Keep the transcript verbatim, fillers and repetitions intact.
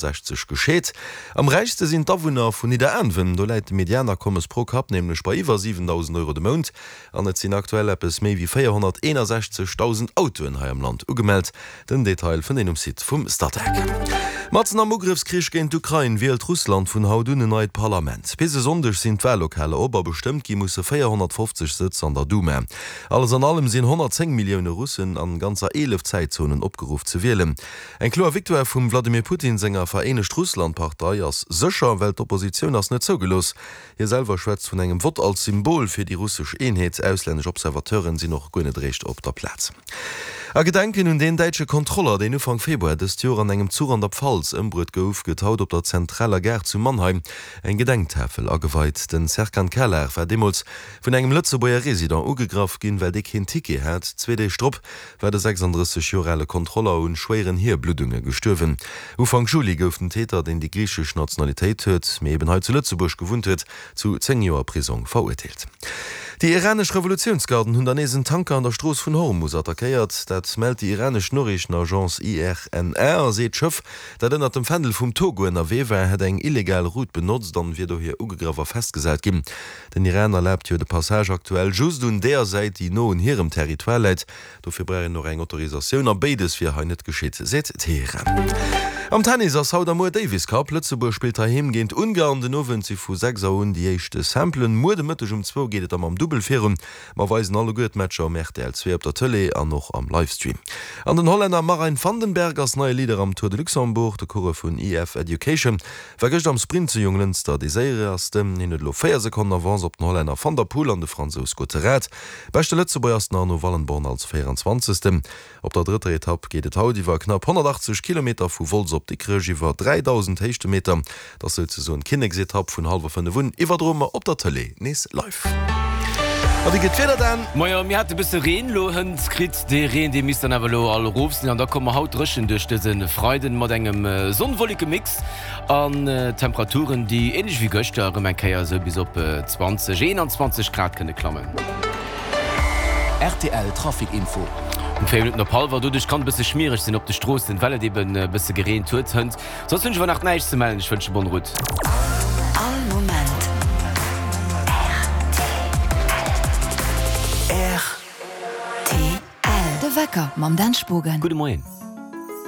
sechzeg gescheet. Am räichste sinn d'Awunner vun Nidderaanwen, do läit de Medianakommes pro Kapp nämlech bei iwwer siwendausend Euro de Mount. An et sinn aktuell eppes méi wéi véierhonnerteenasechzegdausend Autoen hei am Land ugemellt. Den Detail fënnt een um Site vum Statec. Matzen am Ugrëffskrich géint d'Ukrain wielt Russland vun haut un en neit Parlament. Bis e Sonndeg sinn d'Wallokaler op a bestëmmt gi musse véierhonnertfofzeg Sëtz an der Duma. Alles an allem sinn honnertzéng Millioune Russen an ganzer eelef Zäitzonen opgeruff ze wielen. Eng kloer Victoire vum Wladimir Putin senger Vereenegt Russland Partei ass sécher, well d'Oppositioun ass net zougelooss. Hie selwer schwätzt vun engem Vott als Symbol fir déi russesch Eenheet. Auslännesch Observateuren sinn och guer net eréischt op der Plaz. A Gedenken un deen däitsche Kontroller, deen Ufank Februar dëst Joer an engem Zuch an der Pfalz ëmbruet gouf, gëtt haut op der zentraler Gare zu Mannheim eng Gedenktafel ageweit. Den Serkan Kalar war deemools vun engem Lëtzebuerger Resident ugegraff ginn, well dee keen Ticket hat. Zwee Deeg drop war de sechsanddrësseg Joer ale Kontroller un schwéieren Hierbluddunge gestuerwen. Ufank Juli gouf den Täter, deen déi griichesch Nationalitéit huet, mee eben hei zu Lëtzebuerg gewunnt huet, zu zéng Joer Prisong verurteelt. Déi iranesch Revolutiounsgarden hunn der nees en Tanker an der Strooss vun Hormus attackéiert. Dat mellt déi iranesch Noriichtenagence I R N A a seet, d'Schëff, dat ënnert dem Fändel vum Togo ënnerwee war, hätt eng illegal Route benotzt an wier dohier ugegraff a festgesat ginn. Den Iran erlaabt jo de Passage aktuell just un deeër Säit, déi no un hirem Territoire läit. Dofir brauch een och eng Autorisatioun a béides wier hei net geschitt, seet Teheran. Am Tennis ass haut a muer Davis Cup. Lëtzebuerg spillt heiheem géint Ungarn. Den Owend si vu sechs Auer un déi éischt Simplen. Muer de Mëtteg um zwou geet et da mam Dubbel virun. Mer weisen alleguer d'Matcher um R T L zwee op der Tëlee an och am Livestream. An den Hollänner Marijn Vandenberg ass neie Leader am Tour de Luxembourg. De Coureur vun E F Education war gëscht am Sprint zu Jonglënster dee Séiersten. Hien huet elo véier Sekonnen Avance op den Hollänner Van der Poel an de Fransous Gottérat. Beschte Lëtzebuerger ass den Arno Wallenborn als véieranzwanzegsten. Op der drëtter Etapp geet et haut iwwer knapp honnertachtzeg Kilometer vu Wolz op Dikrech iwwer dräidausend Héichtemeter. Dat ass souzesoen d'Kinneksetapp. Vun hallwer fënnef un iwwerdroe mer op der Tëlee nees live. A wéi gëtt d'Wieder dann? Majo, mir hate bësse Reen lo hënt kritt. Dee Reen, dee misst dann awer lo all erof sinn an da komme mer haut dréchen duerch dëse Freiden mat engem Sonn-Wolleke-Mix an Temperaturen, déi änlech wéi gëschter erëm eng Kéier esou bis op zwanzeg, eenanzwanzeg Grad kënne klammen. R T L Trafic Info. Um véier Minutten op hallwer. Doduerch kann et bësse schmiereg sinn op de Stroossen, well et eben e bësse gereent huet hënt. Soss hunn ech awer nach näischt ze mellen. Ech wënsche bonne route. All Moment R T L. De Wecker mam Dan Spogen. Gudde Moien.